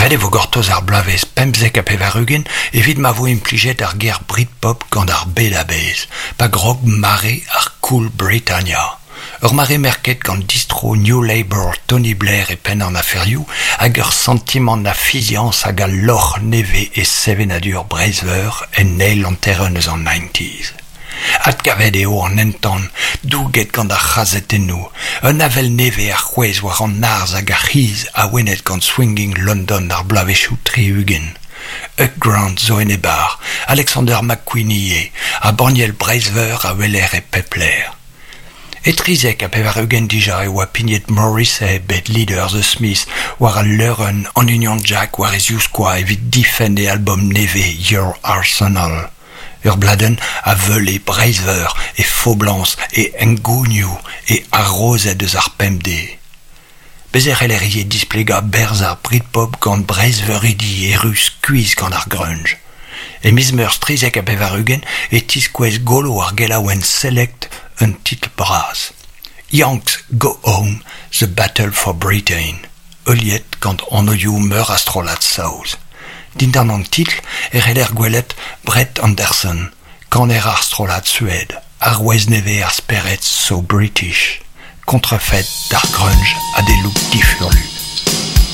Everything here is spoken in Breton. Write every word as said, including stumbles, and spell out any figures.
Ret e vo gortoz ar bloavezh pemzek ha pevar-ugent evit ma vo implijet ar ger Britpop gant ar bed a-bezh, pa grog mare ar Cool Britannia. Ur mare merket gant distro New Labour Tony Blair e penn an aferioù hag ur santimant a fiziañs hag a lorc'h nevez e sevenadur Breizh-Veur en eil hanterenn eus an nineties. Adkavet eo an entan, douget gant ar c'hazetennoù, un avel nevez a c'hwezh war an arz hag ar c'hiz awenet gant swinging London ar bloavezhioù tri-ugent. Hugh Grant zo en e bar, Alexander McQueen ivez, ha banniel Breizh-Veur a weler e pep lec'h. E trizek ha pevar-ugent dija e oa pignet Morrissey bet leader The Smiths war al leurenn an Union Jack war e zivskoaz evit difenn e album nevez Your Arsenal. Ur bladenn a veule Breizh-Veur, e foblañs, e hengounioù, e harozed eus ar pemdez. Bez' e c'heller ivez displegañ berzh ar Britpop gant Breizhveuridi erru skuizh gant ar grunge. E miz Meurzh trizek ha pevar-ugent e tiskouez golo ar gelaouenn Select un titl bras. Yanks Go Home, The Battle for Britain, heuliet gant anvioù meur a strollad saoz. Dindan an titl e c'heller gwelet Brett Anderson, kaner ar strollad Suède, arouez nevez ar spered So British, kontrafet d'ar grunge ha d'e look difurlu.